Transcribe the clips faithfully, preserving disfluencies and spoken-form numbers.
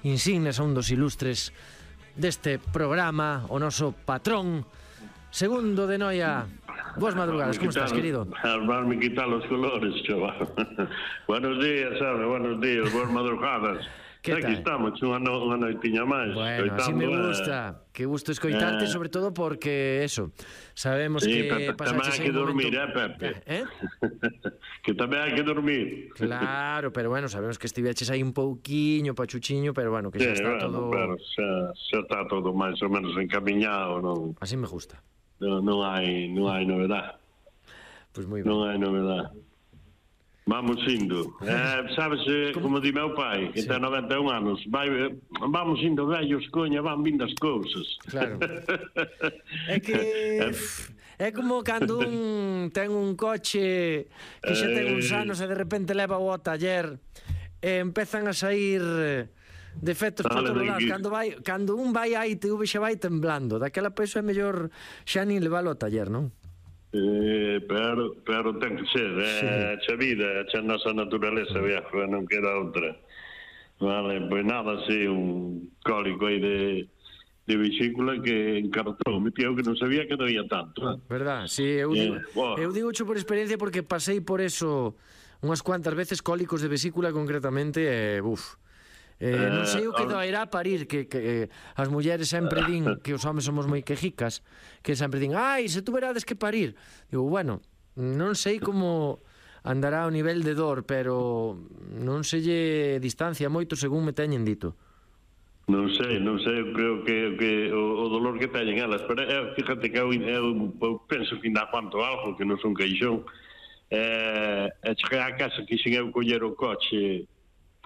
insignes, a un dos ilustres deste programa, o noso patrón, Segundo de Noia. Boas madrugadas, como estás, querido? Armarme quitar los colores, chaval. Buenos días, sabe, buenos días, boas madrugadas. Aquí estamos, unha, no, unha noitiña máis. Bueno, así me gusta, eh... que gusto escoitarte, eh... sobre todo porque, eso, sabemos sí, que pasaches aí un momento... Tamén hai que dormir, eh, Pepe? Eh? Que tamén hai que dormir. Claro, pero bueno, sabemos que estiveches aí un pouquiño, pachuchiño, pero bueno, que xa sí, está bueno, todo... Claro, xa, xa está todo máis ou menos encaminhado, non? Así me gusta. Non, non hai, non hai novedade. Pois pues moi ben. Non hai novedade. Vamos indo. Eh, sabes, como, como di meu pai, que sí. Ten noventa e un anos, vai, vamos indo vellos, coña, van vindo as cousas. Claro. É que... É como cando un ten un coche que xa ten uns anos e de repente leva o taller e empezan a sair defectos por todos lados. Cando, vai, cando un vai a I T V xa vai temblando. Daquela peso é mellor xa nin levalo ao taller, non? Eh, pero, pero ten que ser, é sí. A vida, a nosa naturaleza, viejo, non queda outra. Vale, pois nada, así, un cólico aí de, de vesícula que encartou, me tío que non sabía que doía tanto. Eh? Verdad, sí, eu digo, eh, wow. eu digo por experiencia porque pasei por eso unhas cuantas veces, cólicos de vesícula concretamente, e, uf, Eh, non sei o que doerá parir, que, que eh, as mulleres sempre din que os homes somos moi quejicas, que sempre din, ai, se tú verades que parir. Digo, bueno, non sei como andará o nivel de dor, pero non se lle distancia moito según me teñen dito. Non sei, non sei, creo que, que o, o dolor que teñen elas, pero eh, fíjate que eu, eu, eu penso que ainda quanto algo, que non son queixón, eh, e cheguei a casa que xin eu coller o coche,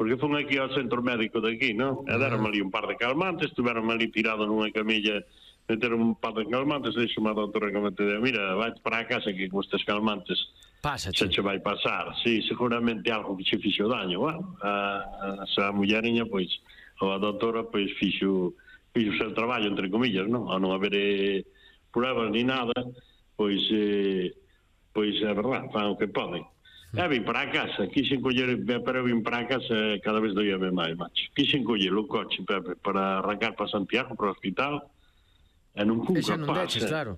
porque fun aquí ao centro médico de aquí, non? E deron ali un par de calmantes, estuveron ali tirado nunha camilla, meteron un par de calmantes, e dixo a doutora que me te deu, mira, vai para a casa que con estes calmantes Pásache. Se che vai pasar. Sí, seguramente algo que che fixo daño, bueno, a, a, a mulleriña, pois, ou a doutora, pois, fixo, fixo o seu traballo, entre comillas, non? A non haber eh, pruebas ni nada, pois, eh, pois, é verdad, fan o que poden. E vim para a casa, quixen coller, pero vim para a casa cada vez doíame máis, macho. Quixen coller o coche, Pepe, para arrancar para Santiago, para o hospital, e non fun capaz. non deches, claro.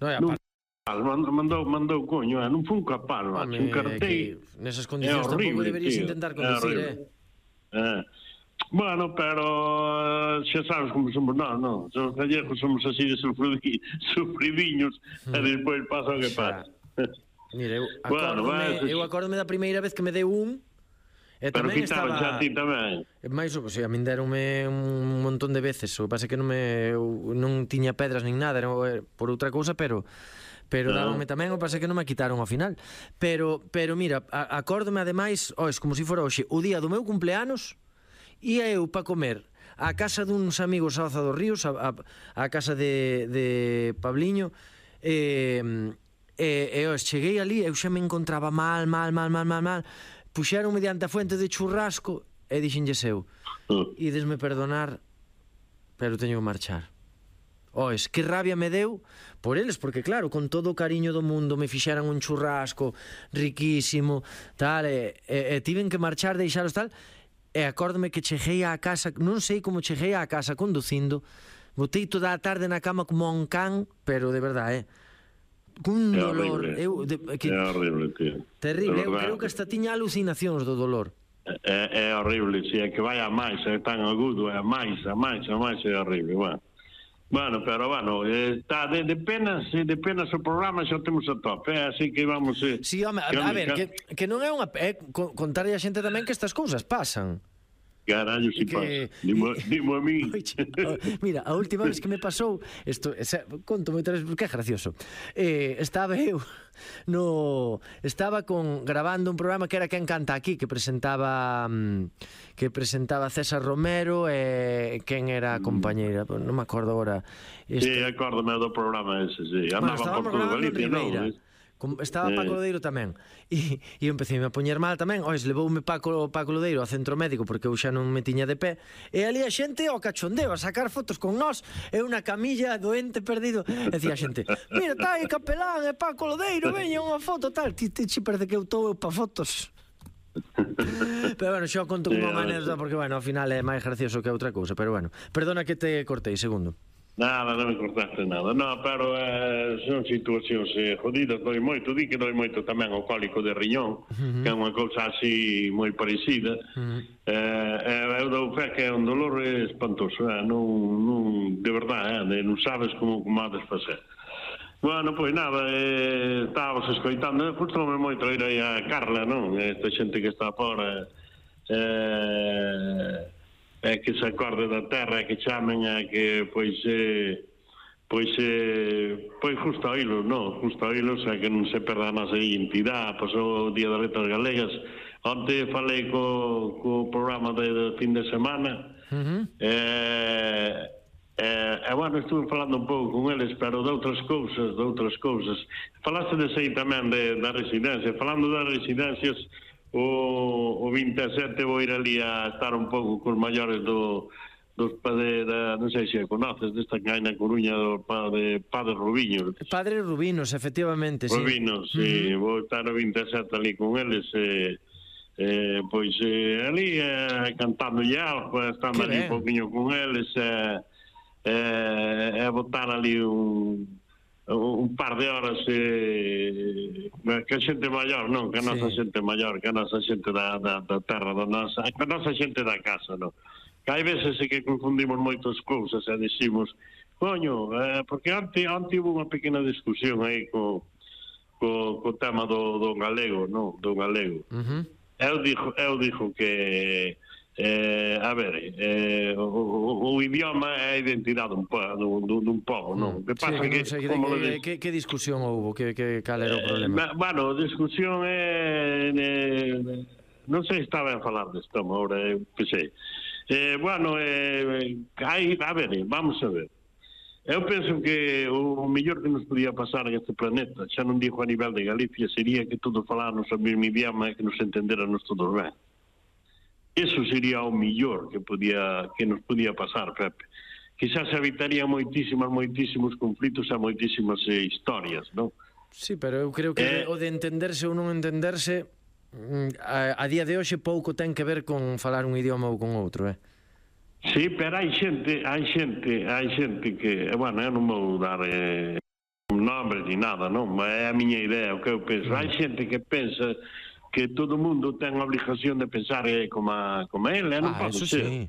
Non é aparte. Mandou, mandou, coño, eh, non fun capaz, macho. Un cartei. Nesas condicións tampouco deberías intentar conducir, eh? Eh. Bueno, pero xa sabes como somos nós, non? Os gallegos somos así de sufridiños, e despois pasa o que pasa. Mira, eu acórdome, bueno, eu acórdome da primeira vez que me deu un e pero tamén estaba... xa a ti tamén. Mais, o sea, a min deronme un montón de veces, o que pasa que non me non tiña pedras nin nada, era por outra cousa, pero pero no. Dáronme tamén, o que pasa que non me quitaron ao final. Pero pero mira, acórdome ademais, ois, como se si fora hoxe, o día do meu cumpleanos, ia eu para comer á casa duns amigos a Oza dos Ríos, a, a, a casa de, de Pabliño, e... Eh, E, e os cheguei ali, eu xa me encontraba mal, mal, mal, mal, mal, mal. Puxeron mediante a fuente de churrasco e dixenlles eu, idesme perdonar, pero teño que marchar. Ois, que rabia me deu por eles, porque claro, con todo o cariño do mundo me fixeran un churrasco riquísimo, tal, e, e, e tiven que marchar, deixaros tal, e acórdome que cheguei á casa, non sei como cheguei á casa conducindo, botei toda a tarde na cama como un can, pero de verdade, eh, cun dolor, eu, de, que, é horrible, tío. Terrible, eu creo que hasta tiña alucinacións do dolor. É, é horrible, si, é que vai a máis, é tan agudo, é a máis, a máis, a máis, é horrible, bueno. Bueno, pero, bueno, está de, de penas, de penas o programa xa temos a tope, eh, así que vamos... Eh, sí, home, a, a ver, que, que non é unha... É, contarlle a xente tamén que estas cousas pasan. Carallo, si que... pasa. Dimo, dimo a mí. Mira, a última vez que me pasou isto, esa, conto moitas veces porque é gracioso. Eh, estaba eu no estaba con grabando un programa que era Quen canta aquí, que presentaba que presentaba César Romero e quen era a compañeira, non me acordo agora. Este... Sí, acórdome do programa ese, sí. Andaba bueno, por todo Galicia, non? Estaba Paco Lodeiro tamén e, e eu empecé a poñer mal tamén. Ois, levoume Paco, Paco Lodeiro ao centro médico porque eu xa non me tiña de pé, e ali a xente ao cachondeo a sacar fotos con nós, e unha camilla doente perdido, e decía a xente, mira, tá aí Capelán e Paco Lodeiro, veña unha foto tal, ti, ti, ti parece que eu estou pa fotos. Pero bueno, xo conto como unha anécdota porque, bueno, ao final é máis gracioso que outra cousa, pero bueno, perdona que te cortei, segundo. Nada, non me cortaste nada. No, pero eh, son situacións eh, jodidas, doi moito, di que doi moito tamén o cólico de riñón, uh-huh. que é unha cousa así moi parecida. Uh-huh. Eh, eu dou fe que é un dolor espantoso, eh, non, non, de verdade, eh, non sabes como, como hades facer. Bueno, pois nada, eh, estábamos escoitando, gustoume moito ir aí a Carla, non? Esta xente que está fora, eh, é que se acorde da terra, que chamen a que, pois, eh, pois, eh, pois justo a hilos, non? Justo a hilos, a que non se perda a nosa identidade, pasou o Día das Letras Galegas. Onte falei co, co programa de, de fin de semana, uh-huh. eh, Eh, e, bueno, estuve falando un pouco con eles, pero de outras cousas, de outras cousas. Falaste de sei tamén de, da residencia. Falando das residencias, o, o vinte e sete vou ir ali a estar un pouco cos maiores do, dos padres, non sei se a conoces, desta que hai na Coruña, do padre, padre Rubiños. Padre Rubinos, efectivamente, sí. Rubinos, sí. Uh-huh. Vou estar o vinte e sete ali con eles, e... Eh, pois eh, ali eh, cantando algo, estando que ali ben. Un pouquinho con eles, eh, é eh, botar ali un, un par de horas eh, que a xente maior, non, que a nosa sí. xente maior, que a nosa xente da, da, da terra, da nosa, que a nosa xente da casa, non? Que hai veces que confundimos moitas cousas e dicimos, coño, eh, porque ante, ante hubo unha pequena discusión aí co, co, co tema do, do galego, non, do galego. Uh-huh. Eu dixo, eu dixo que Eh, a ver, eh, o, o, o idioma é a identidade dun, dun, dun povo, non? Que pasa sí, que, que, sei, como que, que, que discusión houve? Que, que, cal era o problema? Eh, bueno, a discusión é... Eh, non sei se estaba a falar desto, agora, eu pensei. Eh, bueno, eh, hai, a ver, vamos a ver. Eu penso que o, o mellor que nos podía pasar en este planeta, xa non digo a nivel de Galicia, sería que todos faláramos o mesmo idioma e que nos entendéramos todos ben. Eso sería o millor que podía que nos podía pasar, Pepe. Quizás evitaría moitísimas, moitísimos conflitos e moitísimas eh, historias, non? Sí, pero eu creo que eh, o de entenderse ou non entenderse a, a día de hoxe pouco ten que ver con falar un idioma ou con outro, eh? Sí, pero hai xente, hai xente, hai xente que, bueno, eu non vou dar eh, un nombre ni nada, non? É a miña idea, o que eu penso. Mm. Hai xente que pensa que todo o mundo ten a obligación de pensar eh, como, a, como a ele, non ah, pode ser. Sí.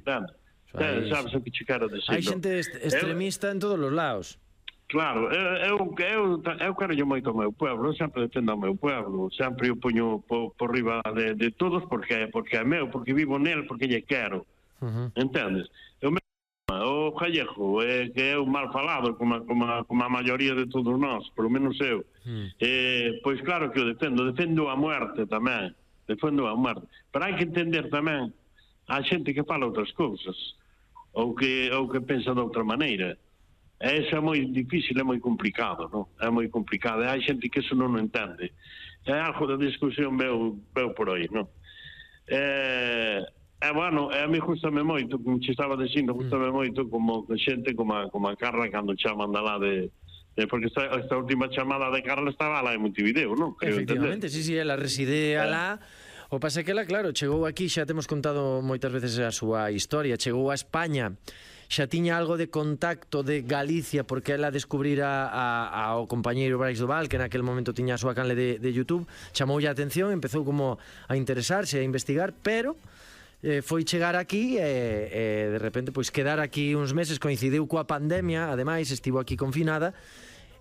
Aí, sabes o que che quero decir? Hai xente est extremista eu, en todos os lados. Claro, eu, eu, eu, eu quero moito ao meu pueblo, eu sempre defendo ao meu pueblo, sempre o poño por, por riba de, de todos porque, porque é meu, porque vivo nel, porque lle quero. Uh-huh. Entendes? Eu me... O gallego é que é un mal falado como, como, como a maioría de todos nós, polo menos eu. Mm. Eh, pois claro que o defendo, defendo a muerte tamén, defendo a muerte. Pero hai que entender tamén a xente que fala outras cousas, ou que, ou que pensa de outra maneira. E eso é moi difícil, é moi complicado, non? É moi complicado, e hai xente que eso non o entende. É algo da discusión veo, veo por aí, non? Eh... É, bueno, a mí gustame moito, como che estaba dicindo, gustame moito como xente como a, como a Carla cando chaman da lá de... de porque esta, esta última chamada de Carla estaba lá en Montevideo, non? Creo efectivamente, entender. Sí, sí, ela reside alá. O pasa que ela, claro, chegou aquí, xa temos contado moitas veces a súa historia, chegou a España, xa tiña algo de contacto de Galicia porque ela descubrira a, a, ao compañeiro Brais do Val, que naquel momento tiña a súa canle de, de YouTube, chamoulle a atención, empezou como a interesarse, a investigar, pero... Eh, foi chegar aquí e, e de repente pois quedar aquí uns meses, coincidiu coa pandemia, ademais estivo aquí confinada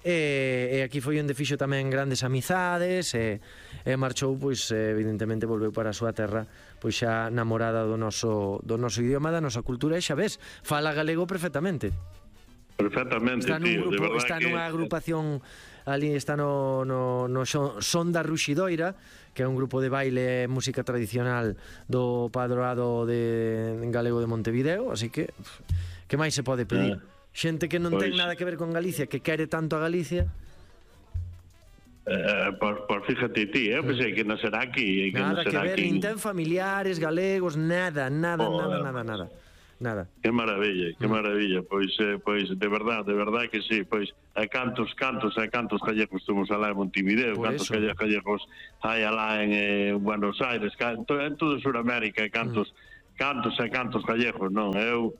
e, e aquí foi onde fixo tamén grandes amizades e, e marchou, pois evidentemente volveu para a súa terra pois xa namorada do noso, do noso idioma, da nosa cultura e xa ves, fala galego perfectamente. Perfectamente, está tío, grupo, de verdad está que... nunha agrupación ali, está no, no, no Son da Ruxidoira, que é un grupo de baile e música tradicional do Padroado de en galego de Montevideo, así que que máis se pode pedir? Ah, xente que non pois... ten nada que ver con Galicia, que quere tanto a Galicia. Eh, por, por fíjate ti, eu pensei que non será aquí, que nada non será que ver, aquí. nin ten familiares galegos, nada, nada, oh, nada, nada, nada. nada. Que maravilla, que maravilla. Pois, eh, pois de verdade, de verdade que sí. Pois a cantos, cantos, a cantos gallegos temos alá en Montevideo, Por cantos eso. gallegos hai alá en eh, Buenos Aires, en toda Sudamérica, cantos, mm. cantos e cantos gallegos, non? Eu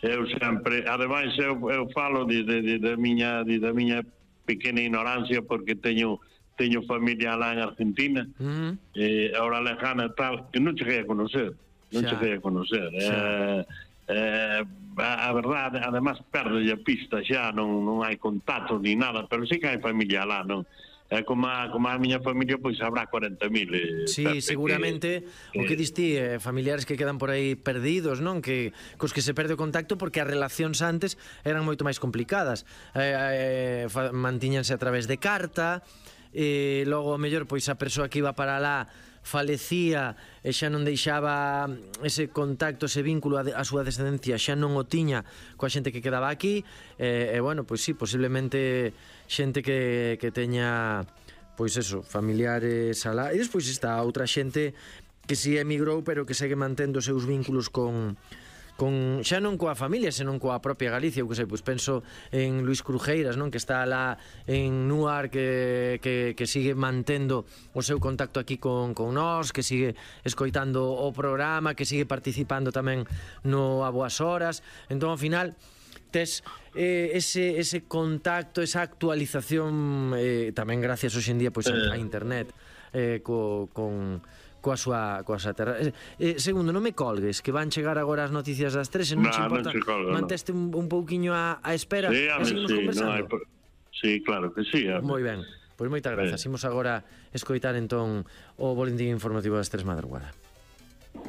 eu sempre, ademais eu, eu falo de, de, de, de miña de, de miña pequena ignorancia porque teño teño familia lá en Argentina, mm. eh, ahora lejana tal, que non cheguei a conocer, non xa. cheguei a conocer. Eh, eh, a verdade, además perde a pista xa, non, non hai contacto ni nada, pero sí que hai familia lá, non? É como a, como a miña familia, pois habrá cuarenta mil. Eh, sí, Pepe, seguramente que, o que distí, eh, familiares que quedan por aí perdidos, non? Que cos que se perde o contacto porque as relacións antes eran moito máis complicadas. Eh, eh, mantíñanse a través de carta, e logo o mellor pois a persoa que iba para lá falecía e xa non deixaba ese contacto, ese vínculo a, a súa descendencia, xa non o tiña coa xente que quedaba aquí, e, e bueno, pois sí, posiblemente xente que, que teña pois eso, familiares alá, e despois está outra xente que si emigrou pero que segue mantendo os seus vínculos con con xa non coa familia, senón coa propia Galicia, eu que sei, pois penso en Luis Crujeiras, non, que está lá en Nuar, que, que, que sigue mantendo o seu contacto aquí con, con nós, que sigue escoitando o programa, que sigue participando tamén no A Boas Horas. Entón, ao final, tes eh, ese, ese contacto, esa actualización, eh, tamén gracias hoxe en día pois, a, a internet, eh, co, con... coa súa, coa súa terra. Eh, segundo, non me colgues, que van chegar agora as noticias das tres, e non te importa, no manteste un, un pouquiño a, a espera, sí, e seguimos sí, conversando? No hai... Sí, claro que sí. Moi ben, pois moitas grazas. Sí. Imos agora escoitar entón o boletín informativo das tres madrugada.